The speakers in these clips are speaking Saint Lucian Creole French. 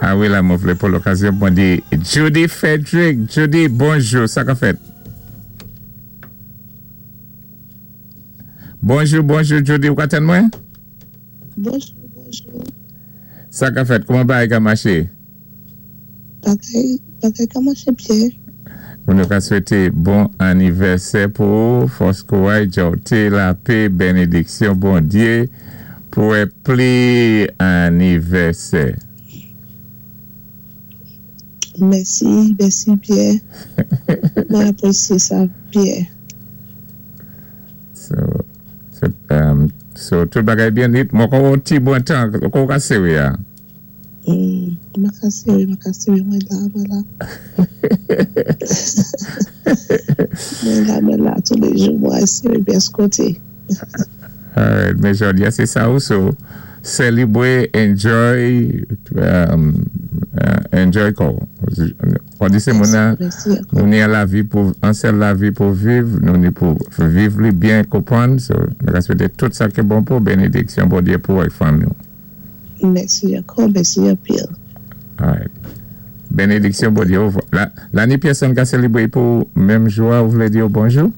A wi, la, mwen vlé pou lokazyon mwen di Judy Frederick. Judy, bonjou, sa ka fèt? Bonjou, bonjou, Judy, ou ka tann mwen? Bonjou, bonjou. Sa ka fèt? Kouman bagay ka maché? Bagay, bagay ka maché byen. Mwen nou ka swété bon anivèsè pou ou, fòs kouray, djòwté, lapé, benediksyon Bondyé pou wè pli anivèsè. Mèsi, mèsi byen. Mwen apwésyé sa byen. So, tout bagay byen nit. Mwen kon yon ti bon tan, kon ka séwé a? Mwen ka séwé, mwen ka séwé, mwen la, mwen la. Mwen la, mwen la, toulé jou mwen séwé pyès koté. Alright, men jodi a sé sa ou, so sélibwé, enjoy, enjoy kò. Kon di sé moun nan, Mèsi ankò. Nou ni an lavi pou, an sèl lavi pou viv, nou ni pou viv li byen konpwann, so nou ka swété tout sa ki bon pou benediksyon Bondyé pou ak fanmi ou. Mèsi ankò, mèsi anpil. Alright. Benediksyon Bondyé ou. La, la ni pèsonn ka sélibwé pou menm jou a, ou vlé di yo bonjou?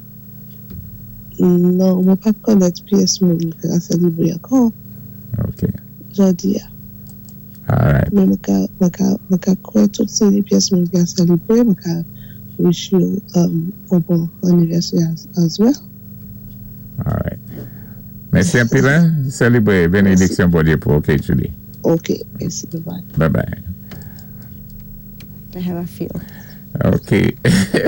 Non, mwen pa konnèt pyès moun ka sélibwé ankò. Ok. Jodi a. Alright. Men mwen ka, mwen ka, mwen ka kwè tout sé pyès moun ka sélibwé, mwen ka wish you un bon anniversaire as well. Alright. Mèsi anpil, hein? Sélibwé, benediksyon Bondyé pou, ok, Judy. Ok, mèsi, bye bye. Bye bye. I have a feel. Ok.